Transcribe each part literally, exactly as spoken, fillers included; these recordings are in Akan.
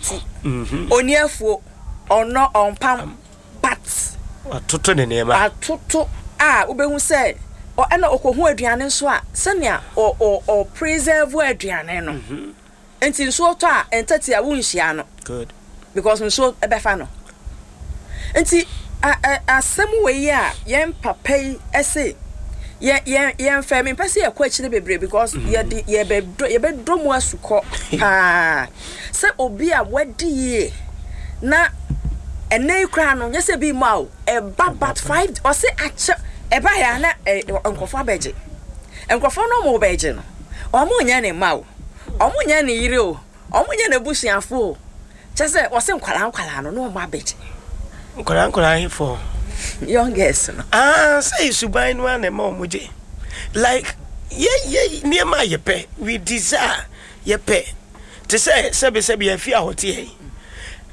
ti. Oni afuo, ɔnɔ ɔmpam, but watoto ne nneɛma. Atoto a wobɛhu sɛ ɔ- ɛna ɔkɔhu aduane nso a, sɛnea ɔ ɔ ɔ preserve aduane no. Nti nsuo tɔ a, ntɛte a wonhyia no Good. because nsuo ɛbɛfa no. Nti a- a- asɛm wei yi a yɛn papa yi ɛse yɛn yɛn yɛn fɛ, mempɛ sɛ yɛkɔ akyire bebree because yɛde yɛbɛdɔ yɛbɛdɔ mu asukɔ paa sɛ obi a wadi yie na ɛnɛ yi koraa no, nyɛ sɛ bi mu a o ɛba, but five ɔse akyɛ ɛba yɛ a na ɛ nkurɔfoɔ abɛgye. Nkurɔfoɔ no, ɔmo bɛgye no, ɔmo nyɛ ne mma o, ɔmo nyɛ ne yere o, ɔmo nyɛ n'abusuafo o. Kyɛ sɛ ɔse nkwalaa nkwalaa no na ɔmo abɛgye. Nkwadaa nkwadaa ahefo? Young girls no. Ah, sɛ suban no a na ɛma ɔmo gye, like yɛ yɛ nneɛma a yɛpɛ, we desire, yɛpɛ te sɛ sɛbisɛbi afi a ɔte yɛ yi,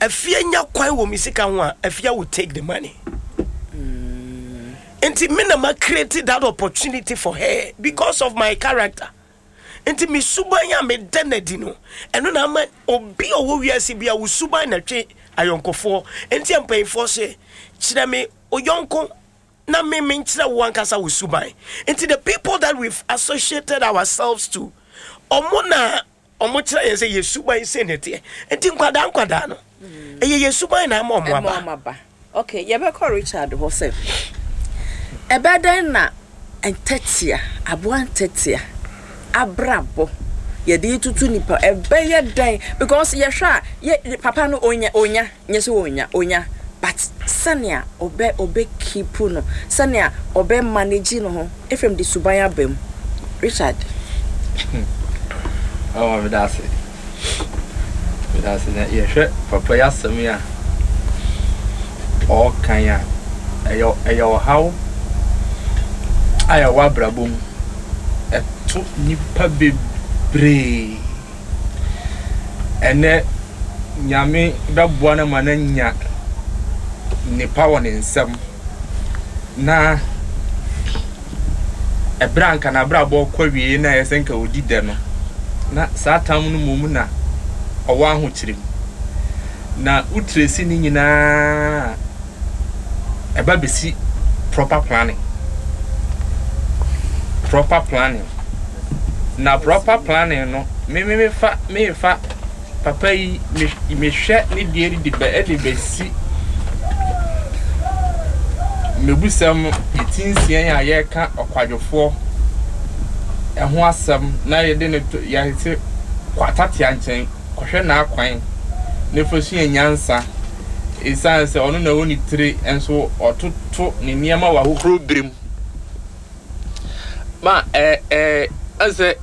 afia nya kwan wɔ mi sika ho a, Afia will take the money. Nti me na ma create that opportunity for her because of my character. Nti me suban a meda n'adi no, ɛno na ama obi a ɔwɔ wiase bi a wo suban na twe ayɔnkofoɔ. Nti mpanyinfoɔ sɛ, "Kyerɛ me oyɔnko na me me nkyerɛ wo ankasa wo suban." Nti the people that we've associated ourselves to, ɔmo na ɔmo kyerɛ yɛn sɛ yɛ suban sɛ ne teɛ. Nti nkwadaa nkwadaa no, ɛyɛ yɛ suban na ama ɔmo ɛma aba. Ɔmo aba. Okay, yɛbɛkɔ Richard hɔ sɛ ɛbɛdɛn na ntɛtea, aboa ntɛtea abrabɔ yɛde tutu nipa, ɛbɛyɛ dɛn? Because yɛhwɛ a, yɛ papa no onya, onya nyɛ sɛ onya onya, but sɛnea ɔbɛ ɔbɛ keep no, sɛnea ɔbɛ manage no ho, Efrem de suban aba mu. Richard. Ɔwɔ meda ase, meda ase. Na yɛhwɛ papa yi asɛm yi a ɔrekan a, ɛyɛ ɛyɛ ɔhaw a yɛwɔ abrabɔ mu, ɛto nipa bebree. Ɛnɛ Nyame bɛboa no ma no anya nipa wɔ ne nsam na ɛberɛ a nka n'abrabɔ kɔ wie na ɛyɛ sɛ nka ɔdi dɛ no, na saa tam no mmom na ɔwɔ ahokyere mu na wotiresi ne nyinaa, ɛba bɛsi proper planning. Proper planning na proper planning no, me me mefa mefa papa yi, me mehwɛ ne deɛ de bɛ ɛde bɛsi mmebusɛm eti nsia a yɛreka ɔkwadwofoɔ ɛho asɛm na yɛde ne to yɛte kɔ atatea nkyɛn kɔhwɛ n'akwan na fa sua nyansa, ɛsiane sɛ ɔno na ɛwɔ ne tire nso ɔtoto ne nneɛma wɔ ahohoro bere mu ma ɛɛ ɛɛ ɛsɛ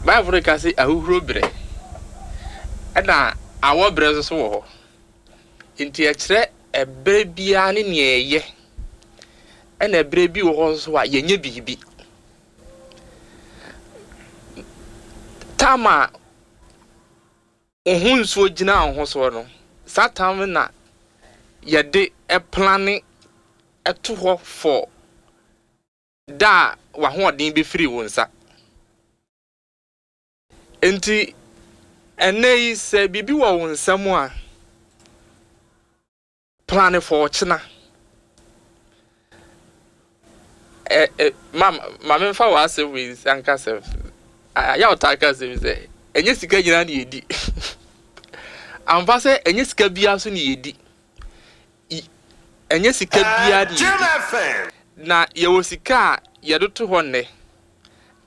Bible ka sɛ ahohoro bere ɛna awɔ bere nso so wɔ hɔ. Nti ɛkyerɛ ɛberɛ biara ne nea ɛyɛ, ɛna ɛberɛ bi wɔ hɔ nso a yɛnyɛ biribi tam a wo ho nsuo gyina wo ho soɔ no, saa tam na yɛde ɛplan ɛto hɔ for da a w'ahoɔden bɛfiri wo nsa. Nti ɛnɛ yi, sɛ biribi wɔ wo nsam a, plan for ɔkyena. ɛ ɛ ma ma memfa w'asɛm wei nka sɛ ayɛ ɔtaa ka asɛm sɛ ɛnyɛ sika nyinaa na yɛdi amfa, sɛ ɛnyɛ sika biara so na yɛdi, ɛnyɛ sika biara na yɛdi. Na yɛwɔ sika a yɛde to hɔ nnɛ,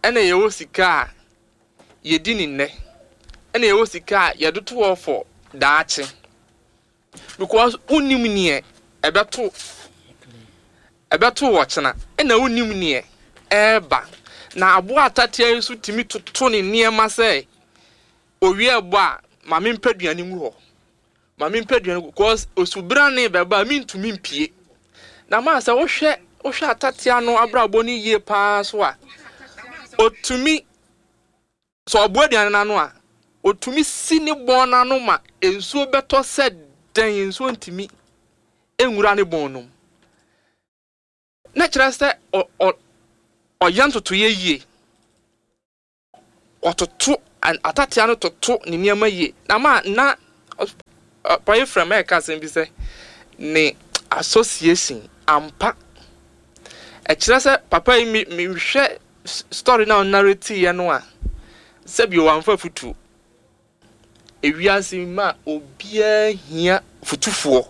ɛna yɛwɔ sika a yɛdi ne nnɛ, ɛna yɛwɔ sika a yɛde to hɔ for daakye, because wonnim neɛ ɛbɛto ɛbɛto wɔ kyena, ɛna wonnim neɛ ɛɛba. Na aboa atatea yi nso tumi toto ne nneɛma sɛ owie ɛbɔ a, maame mpɛ aduane ngu hɔ, maame mpɛ aduane gu, because osubrane bɛba a, mintumi mpie. Na maa sɛ wohwɛ wohwɛ atatea no abrabɔ no yie paa so a, otumi sɛ ɔboa aduane n'ano a, otumi si ne bɔn n'ano ma nsuo bɛtɔ sɛ dɛn, nsuo ntumi nwura ne bɔn no mu. Na kyerɛ sɛ ɔ ɔ ɔyɛ ntotoeɛ yie, ɔtoto atatea no, toto ne nneɛma yie. Na ma na Paye frɛ ma ɛka asɛm bi sɛ ne association ampa ɛkyerɛ sɛ papa yi mi mehwɛ story na ɔnarrate yɛ no a, sɛbi wamfa futuo. Ewiase ma obiara hia futufoɔ.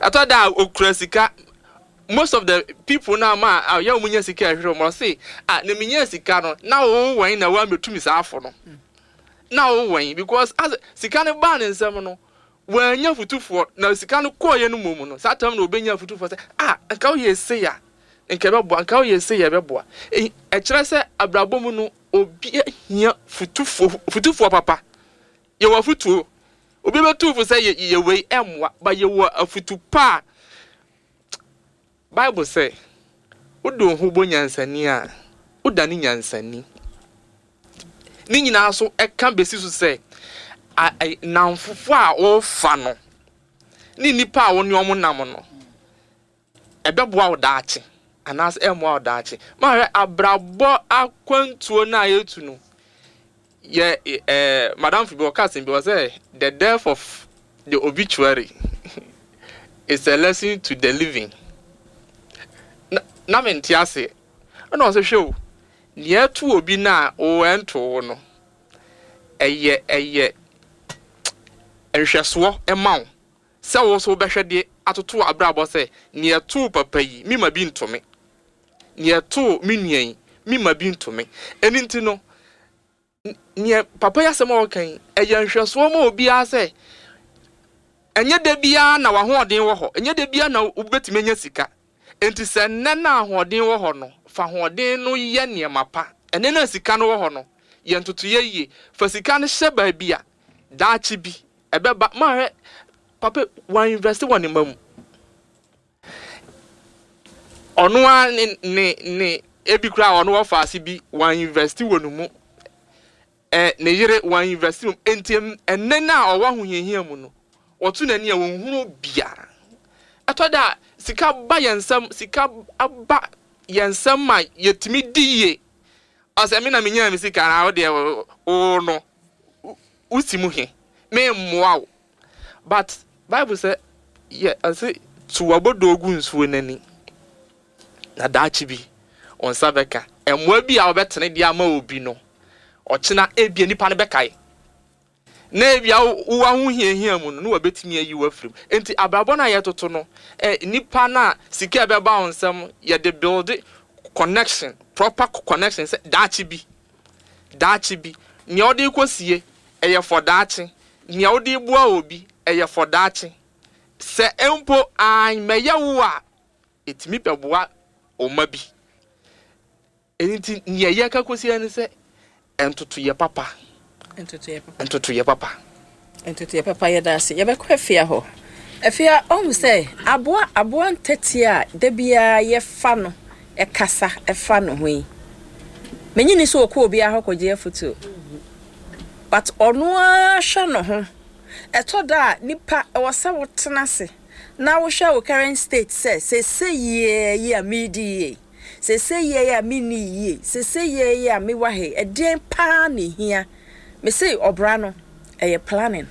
Ɛtɔ da a okura sika, most of the people na ma a yɛ wɔn nya sika ɛhwehwɛ wɔn, ɔse ah, na mi nya sika no na wɔn wɔn na wɔn abɛtumi saa afɔ no na wɔn wɔn, because as sika no baa ne nsam no, wɔanya futufoɔ. Na sika no kɔɔ yɛ no mu no, saa tam na obɛnya futufoɔ sɛ ah, nka woyɛ ese ya, nka ɛbɛboa, nka woyɛ ese ya, ɛbɛboa. Ɛkyerɛ sɛ abrabɔ mu no, obi hia futufoɔ, futufoɔ papa. Yɛwɔ afutuo, obi bɛtu fo sɛ yɛ yɛ wei ɛmmoa ba. Yɛwɔ afutu pa a Bible sɛ wode wo ho bɔ nyansani a, woda ne nyansani. Ne nyinaa so ɛka besi so sɛ namfofo a wɔrefa no ne nipa a wɔne wɔn nam no ɛbɛboa wo daakye anaasɛ ɛmmoa wo daakye. Mahwɛ abrabɔ akwantuo no a yɛtu no, yɛ ɛɛ madam fi bi ɔka asɛm bi, ɔsɛ the death of the obituary is a lesson to the living. Na na mente ase. Ɛna ɔsɛ hwɛ o, nea ɛto obi na wɔnto wo no, ɛyɛ ɛyɛ nhwɛsoɔ ɛma wo sɛ wo nso wobɛhwɛ de atoto abrabɔ sɛ nea ɛto papa yi, mi ma bi ntome, nea ɛto me nua yi, mi ma bi ntome. Ɛno nti no, nea papa yi asɛm a ɔka yi ɛyɛ nhwɛsoɔ ma obiara sɛ ɛnyɛ da biara na w'ahoɔden wɔ hɔ, ɛnyɛ da biara na wobɛtumi anya sika. Nti sɛ nnɛ na ahoɔden wɔ hɔ no, fa ahoɔden no yɛ nneɛma pa. Ɛnɛ na sika no wɔ hɔ no, yɛ ntotoyɛ yie, fa sika no hyɛ baabi a daakye bi ɛbɛba. Mahwɛ papa wɔn invest wɔ ne ma mu. Ɔno ara ne ne ne ebi koraa ɔno wɔfa ase bi, wɔn invest wɔ ne mu, ɛ ne yere wɔn invest wɔ mu. Nti ɛnɛ na ɔwɔ ahohiahia mu no, wɔto n'ani a wɔn hunu biara. Ɛtɔ da sika ba yɛn nsam, sika aba yɛn nsam ma yɛtumi di yie. Ɔsɛ mi na mi nya mi sika na ɔdeɛ o no wosi mu he me mmoa wo. But Bible sɛ yɛ ɔsɛ to wabɔdɔ ogu nsuo n'ani na daakye bi wɔn nsa bɛka. Mmoa bi a wɔbɛtene de ama obi no, ɔkyena ebia nipa no bɛkae na ebia wo ahohiahia mu no na wɔbɛtumi ayi wo afiri mu. Nti abrabɔ no a yɛtoto no, ɛ nipa no a sika a ɛbɛba wo nsam, yɛde build connection, proper connection, sɛ daakye bi, daakye bi, nea wɔde kɔ sie ɛyɛ fɔ daakye, nea wɔde boa obi ɛyɛ fɔ daakye, sɛ mpo anmɛyɛ wo a, ɛtumi bɛboa ɔma bi. Nti nea yɛka kɔsi ne sɛ ntotoyɛ papa. Ntotoyɛ papa. Ntotoyɛ papa. Ntotoyɛ papa. Yɛda ase. Yɛbɛkɔ Afia hɔ. Afia, ɔhu sɛ aboa aboa ntɛteɛ a da biara yɛfa no ɛkasa ɛfa no ho yi, menyini sɛ ɔkɔ obiara hɔ kɔgye afotuo, but ɔno ara hwɛ no ho. Ɛtɔ da a nipa ɛwɔ sɛ wotena ase na wohwɛ wo current state sɛ sese yie yi a meedi yie, sese yie yi a menni yie, sese yie yi a mewɔ ha, ɛdeɛn paa na ehia mese. Ɔbra no ɛyɛ planning,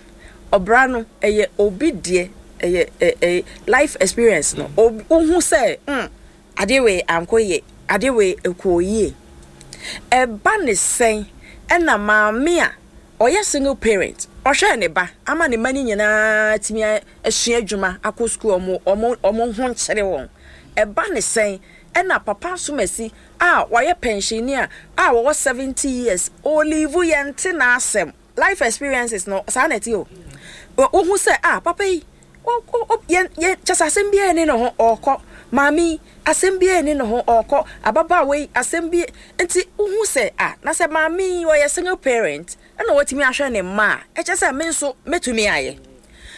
ɔbra no ɛyɛ obi deɛ, ɛyɛ ɛyɛ life experience no. Wohu sɛ mm adeɛ wei ankɔ yie, adeɛ wei ɛkɔ yie. Ɛba ne sɛn ɛna maame a ɔyɛ single parent ɔhwɛ ne ba ama ne mma no nyinaa tumi asua adwuma, akɔ sukuu, ɔmo ɔmo ɔmo ho nkyerɛ wɔn? Ɛba ne sɛn ɛna papa asomasi a wɔyɛ pensioner a wɔwɔ seventy years olive yɛn te n'asɛm? Life experiences no saa na ɛte o. Wohu sɛ ah, papa yi yɛn yɛn kyɛ sɛ asɛm biara ni ne ho ɔrekɔ, maame yi asɛm biara ni ne ho ɔrekɔ, ababaawa yi asɛm bi. Nti wohu sɛ ah, na sɛ maame yi ɔyɛ single parent ɛna watumi ahwɛ ne mma a, ɛkyɛ sɛ me nso mɛtumi ayɛ.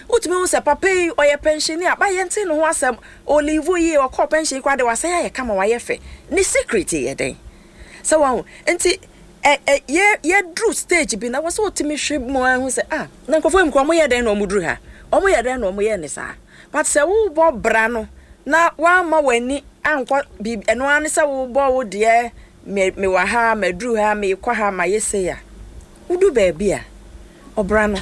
Wotumi hu sɛ papa yi ɔyɛ pensioner ba, yɛn te ne ho asɛm, olive yi ɔkɔɔ pension koraa de wasan ayɛ kama, wayɛ fɛ. Ne secret yɛ dɛn sɛ wɔn nti ɛ ɛ yɛ yɛduru stage bi na wɔsɛ wotumi hwɛ mu ahu sɛ ah, na nkurɔfoɔ yi mu kora, wɔn yɛ dɛn na wɔn duru ha? Wɔn yɛ dɛn na wɔn yɛ ne saa? But sɛ wobɔ bra no na wama w'ani ankɔ biribi, ɛno ara ne sɛ wobɔ wo deɛ, me mewɔ ha, maduru ha, mekɔ ha, mayɛ sei a, wodu baabi a ɔbra no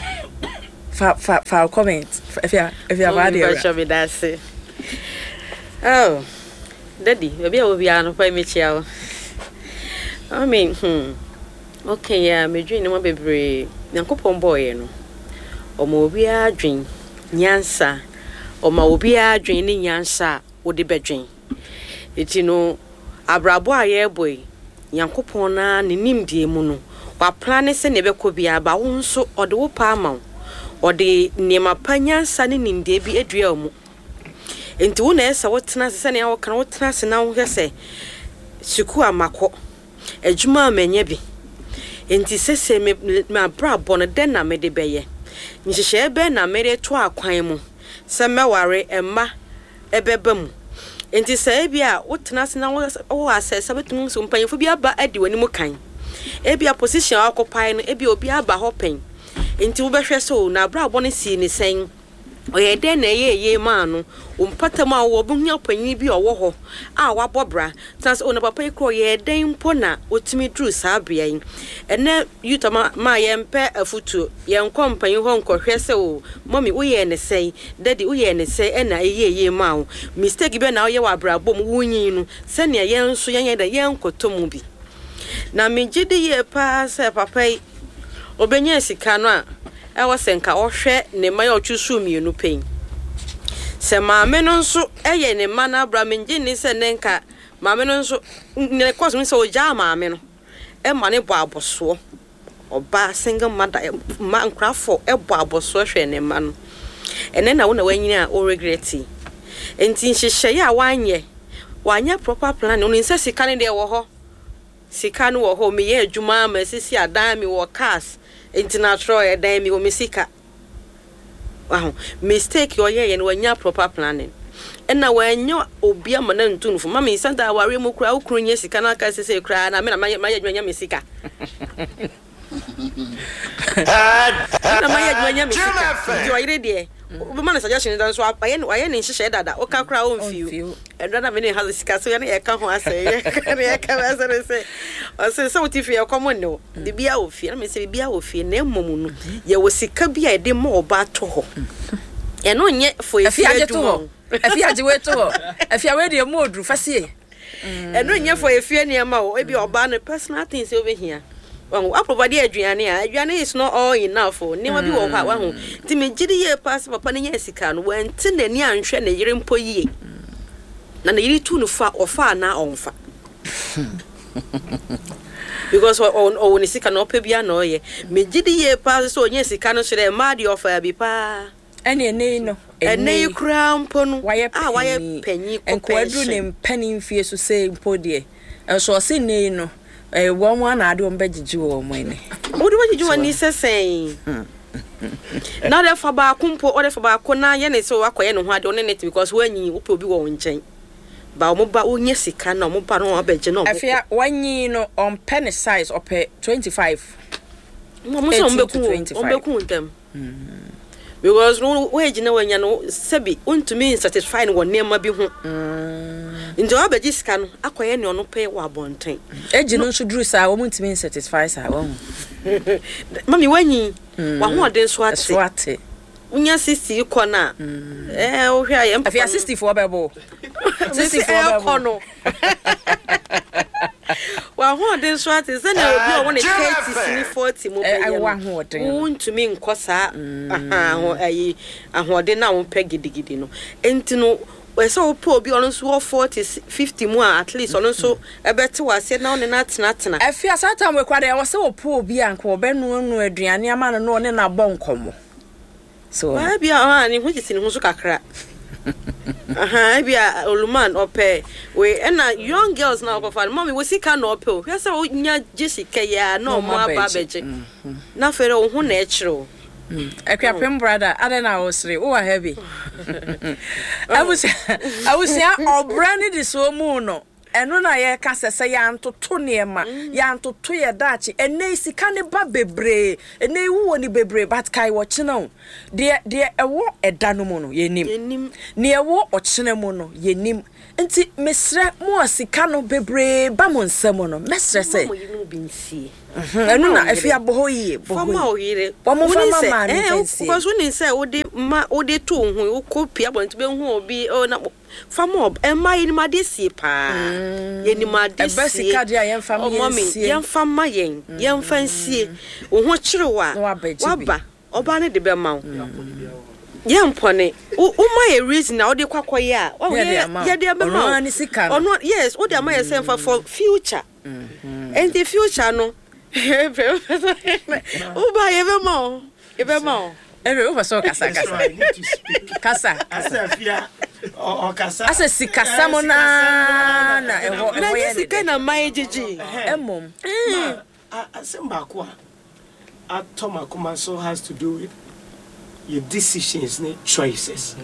fa. Fa fa fa comment. Afia afia fa deɛ. Oh, Daddy, baabi a wɔ biara no pa mekyia wo. I mean, hmm. Okay, yeah, medwene nneɛma bebree. Nyankopɔn bɔɔyɛ no, ɔma obiara dwen nyansa. Ɔma obiara dwen ne nyansa a wode bɛdwen. Eti no, abrabɔ a yɛrebɔ yi, Nyankopɔn na ne nimdeɛ mu no, waplan ne sɛ nea ɛbɛkɔ biara ba wo nso ɔde wo pa ama wo. Ɔde nneɛma pa, nyansa ne nimdeɛ bi adua wo mu. Nti wo na ɛsɛ wotena ase sɛnea wɔka no, wotena ase na wohwɛ sɛ sukuu a makɔ, adwuma a manya bi. Nti sɛsɛ me m'abrabɔ no, dɛn na mede bɛyɛ? Nhyehyɛe bɛn na mede to akwan mu sɛ mɛware, mma ɛbɛba mu? Nti sɛ ebi a wotena ase na wowɔ asɛ sɛ wobɛtumi sɛ mpanyimfo bi aba adi w'anim kan. Ebi a position a wakɔpae no, ebi obi aba hɔ pɛn. Nti wobɛhwɛ sɛ o, n'abrabɔ no sii ne sɛn? Ɔyɛ dɛn na ɛyɛ yie maa no? Wo mpɔtam a wowɔ, wobɛhu panyin bi a ɔwɔ hɔ a wabɔ bra. Tena sɛ o, na papa yi koraa ɔyɛ dɛn mpo na otumi duru saa bea yi? Ɛnɛ youth ma ma yɛmpɛ afotuo. Yɛnkɔ mpanyin hɔ nkɔhwɛ sɛ o, mummy, woyɛɛ ne sɛn? Daddy, woyɛɛ ne sɛn ɛna ɛyɛ yie maa wo? Mistake bɛn na woyɛ wɔ abrabɔ mu wonyin no, sɛnea yɛn nso yɛnyɛ dɛn yɛnkɔtɔ mu bi? Na megye di yie paa sɛ papa yi obɛnya sika no a, ɛwɔ sɛ nka ɔhwɛ ne mma yɛ ɔtwe so mmienu pɛn. Sɛ maame no nso ɛyɛ ne mma no abra, megye nni sɛ ne nka maame no nso ne kɔs mu sɛ ɔgyaa maame no ɛma ne bɔ abɔsoɔ. Ɔbaa single mother, mma nkorafo ɛbɔ abɔsoɔ hwɛ ne mma no. Ɛnɛ na wo na wanyini a wo regret yi. Nti nhyehyɛeɛ a wanyɛ, wanyɛ proper planning. Onim sɛ sika no deɛ wɔ hɔ. Sika no wɔ hɔ, meyɛ adwuma ama sisi adan mi wɔ cars. Nti na atwerɛ ɛdan mi wɔ me sika. Waho mistake ɔyɛ yɛ no, wanya proper planning. Ɛna wanya obi ama na ntu no fo. Mami santa aware mu kura, wo kunu nyɛ sika na aka sese kura na me na mayɛ mayɛ adwuma nya me sika. Na mayɛ adwuma nya me sika. Nti ɔyere deɛ, wobɛma no suggestion da nso wayɛ wayɛ ne nhyehyɛ dada. Woka kora ɔmfiw. Ɛdɔ na me ne ha sika so yɛ ne yɛka ho asɛ yɛka ne yɛka ho asɛ ne sɛ ɔsɛ sɛ wote fie ɛkɔm ne wo, biribiara wɔ fie. Na me sɛ biribiara wɔ fie, na mmom no yɛwɔ sika bi a yɛde ma ɔbaa to hɔ. Ɛno nyɛ fo efie adwuma o. Afi agye wei to hɔ. Afi awei deɛ mu oduru fa sie. Ɛno nyɛ fo efie nneɛma o. Ebi ɔbaa no personal things sɛ wobɛhia. Wahu aprovide aduane a, aduane is not all enough o. Nneɛma bi wɔ hɔ a wahu. Nti megye di yie paa sɛ papa no nya sika no, wante n'ani anhwɛ ne yere mpo yie. Na ne yere tu no fa, ɔfa anaa ɔmfa? Because ɔwɔ ne sika na ɔpɛ bia na ɔyɛ. Megye di yie paa sɛ ɔnya sika no so dɛ mmaa deɛ ɔfa bi paa. Ɛne ɛnɛ yi no, ɛnɛ yi koraa mpo no wayɛ a wayɛ panyin kɔ nkoaduru ne mpanin mfie so sɛ mpo deɛ ɛnso ɔse nne yi no ɛyɛ wɔn mu ana ade wɔn bɛgyegye wɔn ani. Wode wɔgyegye wɔn ani sɛ sɛn? Na ɔde fa baako mpo, ɔde fa baako na yɛ ne sɛ wakɔyɛ ne ho ade, ɔne ne te because wanyi wopɛ obi wɔ wo nkyɛn. Ba ɔmo ba wonya sika na ɔmo ba no abɛgye na ɔmo Afei wanyi no, ɔmpɛ ne size, ɔpɛ twenty five. Ɔmo sɛ ɔmo bɛku, ɔmo bɛku ntɛm. Because no wage na wanya no, sɛbi wontumi satisfy no wɔ nneɛma bi ho. Nti ɔabɛgye sika no akɔyɛ nea ɔno pɛ wɔ abɔnten. Egye no nso duru saa, wɔn ntumi satisfy saa wɔn. Mami, wanyi wahoɔden so ate. So ate. Wonya sixty kɔ no a, ɛɛ wohwɛ a yɛn papa. Afei sixty foɔ bɛbɔ. Sixty foɔ bɛbɔ no. Wahoɔden so ate sɛnea obi a ɔwɔ ne thirty ne forty mu bɛyɛ no, wontumi nkɔ saa ayi ahoɔden na wopɛ gidigidi no. Nti no ɛsɛ wopɛ obi ɔno nso wɔ forty fifty mu a, at least ɔno nso ɛbɛte wɔ aseɛ na ɔne no atenatena. Afi asa tam wɔ kura deɛ, ɛwɔ sɛ wɔpɛ obi a nka wɔbɛnoanoa aduane ama no na ɔne no abɔ nkɔmmɔ. So ebi a ɔha ne ho sisi ne ho so kakra. Aha, ebi a oluman ɔpɛ we ɛna young girls na ɔkɔfa no. Mɔmi wɔ sika na ɔpɛ o. Hwɛ sɛ wonya gye sika yi a na ɔmo aba abɛgye na afei wo ho na ɛkyerɛ o. Akuapem brother, adɛn na wosere? Wowɔ ha bi. Abusua, abusua, ɔbrɛ ne de so mu no, ɛno na yɛka sɛ sɛ yɛantoto nneɛma, yɛantoto yɛ daakye. Ɛnɛ yi sika ne ba bebree, ɛnɛ yi wowɔ ne bebree, but kae wɔkyena o. Deɛ deɛ ɛwɔ ɛda no mu no yɛnim, yɛnim. Nea ɛwɔ ɔkyena mu no yɛnim. Nti mesrɛ mo a sika no bebree ba mo nsam no, mɛsrɛ sɛ mo yi no bi nsie. Ɛno na afi abɔ hɔ yie, bɔ Fama hɔ wo yie. Yere. Wɔn fa Wonim ma sɛ- maame eh, fa wo- nsie. Because wonim sɛ wode ma, wode to wo ho, wokɔ pia abɔnten bɛhu obi, oh, na fama ɔb ɛma yɛnim ade sie paa, yɛnim ade Ɛbɛ sie. Sika deɛ a yɛmfa ma Oh, yɛn mommy, nsie. Yɛmfa ma yɛn, yɛmfa nsie. Wo ho kyerɛ wo a Na wabɛgye bi. Waba ɔbaa no de bɛma wo, yɛmpɔne. Wo- woma yɛ reason a wode kɔ akɔyɛ a wahu, Yɛde yɛ- ama wo. Yɛde bɛma Ɔno wo. ara ne sika no. Ɔno, yes, wode ama yɛ sɛ mfa for future, nti future no woba, yɛbɛma wo, yɛbɛma wo. Ɛfɛ wopɛ sɛ ɔkasa, So kasa. I need to speak. Kasa. Asɛ afia ɔ- ɔkasa. Asɛ sikasɛm naa na ɛhɔ Na ɛhɔ nyɛ yɛ ne sika dɛ. na mma yɛ gyegye. Ɛmmom Ma, a- asɛm baako a atɔ m'akoma so has to do with your decisions ne choices.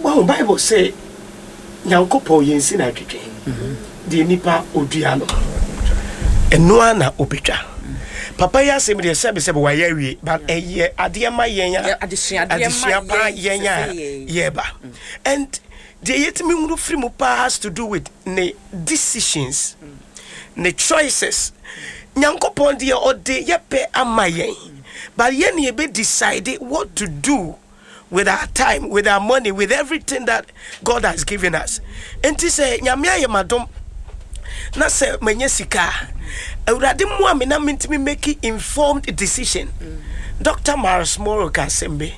Wahu, Bible sɛ Nyankopɔn yɛnsi no adwedwe deɛ nipa odua no, ɛno a na obɛtwa. Papa yi asɛm deɛ, sɛbesɛbe, wayɛ awie, but ɛyɛ adeɛ ma yɛn a Yɛ- adesuadeɛ ma adesua paa yɛn yɛn a sɛ yɛn. Yɛba and deɛ yɛtumi hunu firi mu paa has to do with ne decisions, ne choices. Nyankopɔn deɛ, ɔde yɛpɛ ama yɛn, but yɛn ne yɛbɛ decide what to do with our time, with our money, with everything that God has given us. Nti sɛ Nyame ayɛ madom na sɛ manya sika a, Awurade mmoa me na mentumi make informed decision. Doctor Myles Munroe ka asɛm bi.